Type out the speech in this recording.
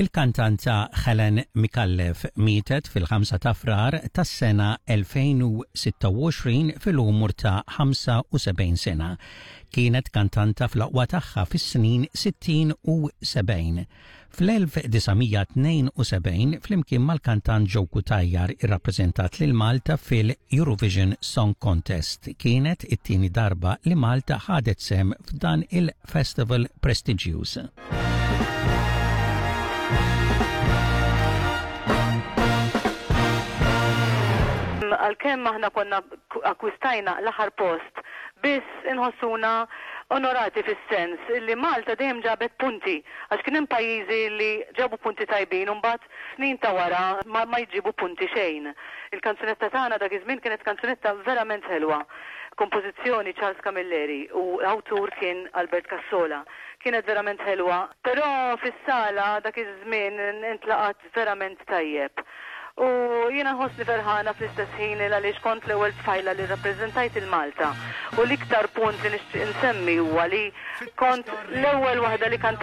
Il-kantanta Helen Micallef mietet fil-5 ta' Frar tas-sena 2026 fil-umur ta' 75 sena. Kienet kantanta fl-aqwa tagħha fis-snin 60 u 70. Fl-1972 flimkien mal-kantant Joe Cutajar irrappreżentat lil Malta fil-Eurovision Song Contest. Kienet it-tieni darba li Malta ħadet sehem f'dan il-festival prestiġjuż. Għalkemm aħna konna akkwistajna l-aħħar post, biss inħossuna onorati fis-sens li Malta dejjem ġabet punti għax kien hemm pajjiżi li ġabu punti tajbin u mbagħad snin ta' wara ma ma jġibu punti xejn. Il-kanzunetta tagħna dak iż-żmien kienet kanzunetta verament ħelwa. Kompożizzjoni Charles Camilleri u awtur kien Albert Cassola. Kienet verament ħelwa. Però fis-sala dak iż-żmien intlaqat verament tajjeb. U jiena nħossni ferħana fl-istess ħin il għaliex kont l-ewwel tfajla li rrappreżentajt 'il Malta. U l-iktar punt li nixtieq insemmi huwa li kont l-ewwel waħda li kantajt.